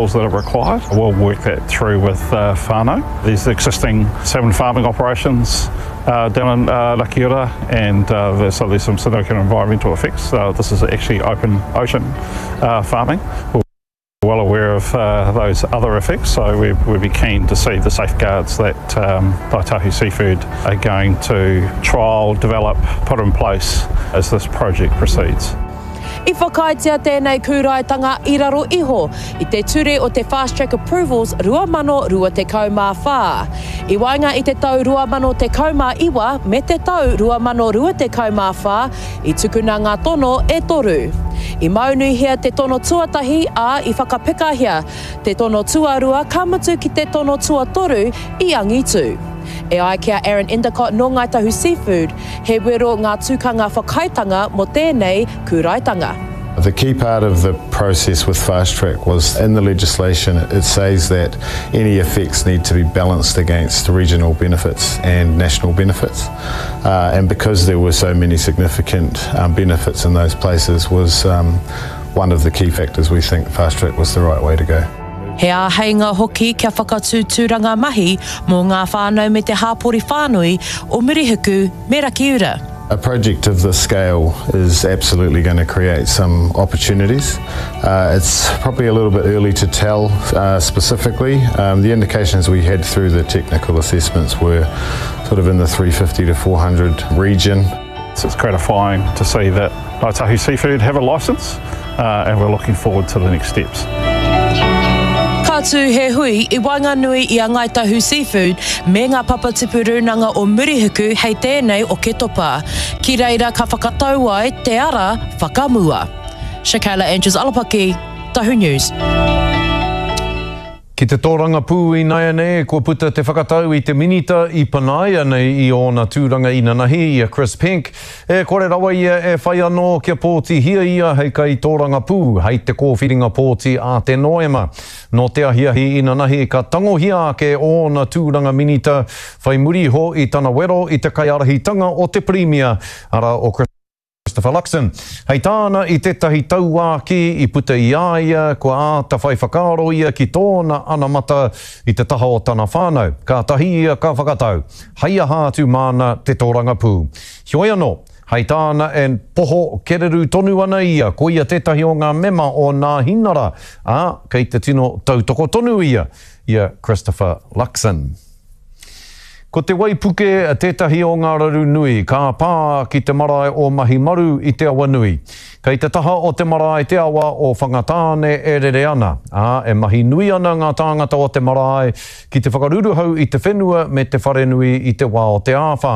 That are required. We'll work that through with uh, whānau. There's existing salmon farming operations uh, down in uh, Rakiura and uh, there's, so there's some significant environmental effects. Uh, this is actually open ocean uh, farming. We're well aware of uh, those other effects, so we, we'd be keen to see the safeguards that um, Tahu Seafood are going to trial, develop, put in place as this project proceeds. I whakaaetia tēnei kūraetanga i raro iho i te Ture o te Fast Track Approvals 2024. I waenga i te tau 2019 me te tau 2024 i tukuna ngā tono e toru. I maunuhia te tono tuatahi, ā, i whakapekahia te tono tuarua ka mutu ki te tono tuatoru i angitu. E ai ki a Aaron Endicott nō Ngāi Tahu Seafood, he wero ngā tukanga whakaaetanga mō tēnei kūraetanga. The key part of the process with Fast Track was in the legislation it says that any effects need to be balanced against regional benefits and national benefits. Uh, and because there were so many significant um, benefits in those places was um, one of the key factors we think Fast Track was the right way to go. He āheinga hoki kia whakatū tūranga mahi mō ngā whānau me te hāpori whānui o Murihiku me Rakiura. A project of this scale is absolutely going to create some opportunities. Uh, it's probably a little bit early to tell uh, specifically. Um, the indications we had through the technical assessments were sort of in the 350 to 400 region. So it's gratifying to see that Ngāi Tahu Seafood have a licence uh, and we're looking forward to the next steps. Ka tū he hui i waenganui i a Ngāi Tahu Seafood me ngā papatipu rūnanga o Murihiku hei tēnei Oketopa. Ki reira ka whakatau ai te ara whakamua. Shakayla Andrews Alapaki, Tahu News. Ki te tōrangapū inaianei, kua puta te whakatau i te Minita i panaia nei i ōna tūranga inanahi, i a Chris Penk, e kore rawa ia e whai anō kia pōtihia ia hei kaitōrangapū hei te kōwhiringa pōti a te Noema. Nō te ahiahi inanahi ka tangohia ake ōna tūranga Minita whai muri iho i tana wero i te kaiārahitanga o te Pirimia, arā o Chris Christopher Luxon. Hei tāna i tētahi tauākī i puta i a ia, kua āta whai whakaaro ia ki tōna anamata i te taha o tana whānau, kātahi ia ka whakatau, hei aha atu māna te tōrangapū. Heoi anō, hei tāna e poho kereru tonu ana ia, ko ia tētahi o ngā mema o Nāhinara, ā, kei te tino tautoko tonu ia i a Christopher Luxon. Ko te waipuke tētahi o ngā raru nui ka pā ki te marae o Mahimaru i Te Awanui. Kei te taha o te marae te awa o Whangatāne e rere ana, ā, e mahi nui ana ngā tāngata o te marae ki te whakaruruhau i te whenua me te wharenui i te wā o te āwhā.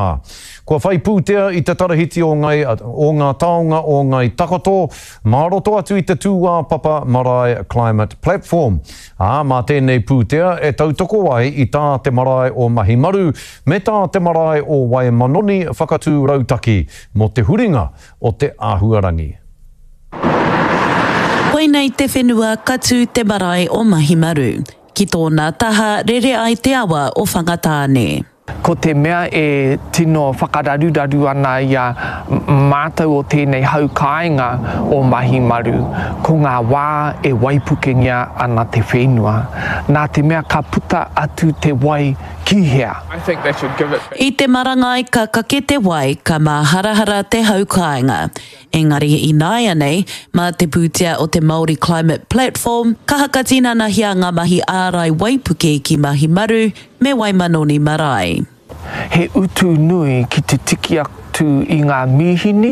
Kua whai pūtea i te tarahiti o Ngai, o ngā taonga o Ngai Takoto, mā roto atu i te tūāpapa Marae Climate Platform. Ā, mā tēnei pūtea e tautoko ai i tā te marae o Mahimaru me tā te marae o Waimanoni whakatū rautaki mō te huringa o te āhuarangi. Koinei te whenua ka tū te marae o Mahimaru. Ki tōna taha rere ai te awa o Whangatāne. Ko te mea e tino whakararuraru ana i a mātou o tēnei hau kāinga o Mahimaru, ko ngā wā e waipukengia ana te whenua. Nā te mea ka puta atu te wai ki hea? I te marangai ka kake te wai, ka māharahara te hau kāinga. Engari ināianei, mā te pūtea o te Māori Climate Platform, ka hakatinanahia ngā mahi ārai waipuke ki Mahimaru, me Waimanoni Marae. He utu nui ki te tiki atu i ngā mīhini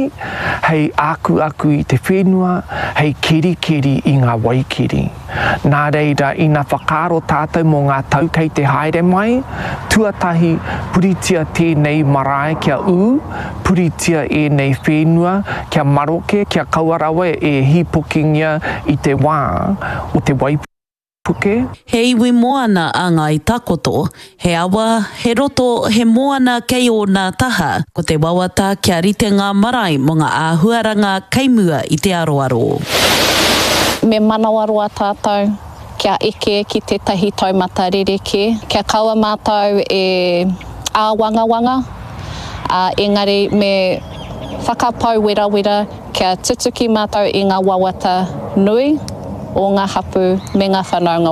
hei akuaku i te whenua, hei kerikeri i ngā waikeri. Nā reira, ina whakaaro tātou mō ngā tau kei te haere mai, tuatahi, puritia tēnei marae kia ū, puritia ēnei whenua kia maroke, kia kaua rawa e hīpokingia i te wā o te waipuke. Puke. He iwi moana a Ngāi Takoto. He awa, he roto, he moana kei ōna taha. Ko te wawata kia rite ngā marae mō ngā āhuaranga kei mua i te aroaro. Me manawaroa tātou kia eke ki tētahi taumata rerekē, kia kaua mātou e āwangawanga, ā, engari me whakapau werawera kia tutuki mātou i ngā wawata nui. o ngā hapū me ngā whanaunga.